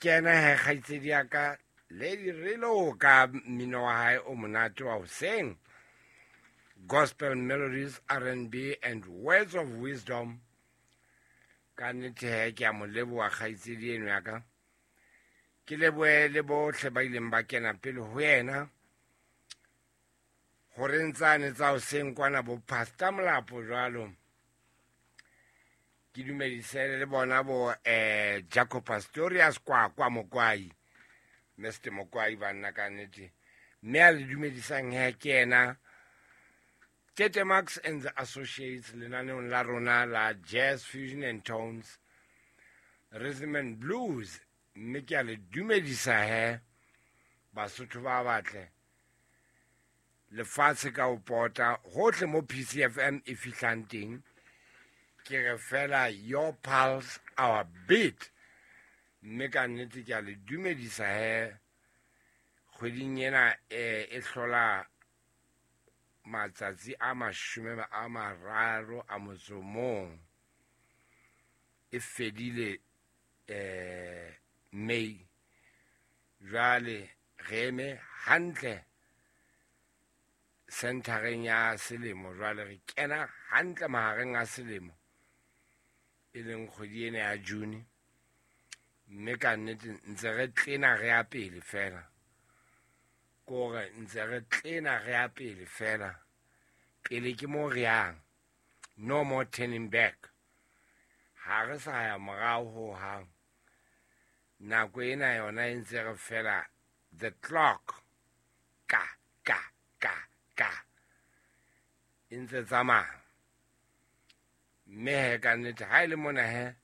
Kena he kgaitsedi ya ka Lady Relo ka mmino wa hae o monate wa hoseng, gospel melodies, R&B and words of wisdom. Ka nnete he ke a mo leboha kgaitsedi eno ya ka. Ke lebohe le bohle ba ileng ba kena pele ho yena gore ntsane tsa hoseng kwana bo Pastor Molapo jwalo. Ke dumedise le bona bo Jacob Pastorius kwa Mokwai, Mr Mokwai banna ka nnete. Mme a le dumedisang he ke yena Tete Max and the Associates lenaneong la rona la Jazz Fusion and Tones, Rhythm and Blues. Mme ke a le dumedisa he Basotho ba batle lefatshe ka ho pota hohle mo PCFM e fihlang teng. Ke re fela your pulse our beat. Mme ka nnete ke a le dumedisa he kgweding ena e hlola matsatsi a 30 a motso mong, e fedile May. Jwale re eme hantle centereng ya selemo, jwale re kena hantle mahareng a selemo e leng kgwedi ena ya June. Mme ka nnete ntse re tlena re ya pele fela, kore ntse re tlena re ya pele fela, pele ke mo re yang, no more turning back. Ha re sa ya morao ho hang. Nako ena yona e ntse re fela the clock ka ka ka ka e ntse tsamaya. Mme he ka nnete ha e le mona he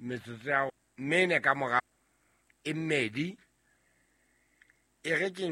metsotso ya mene ka mora e mmedi e re ke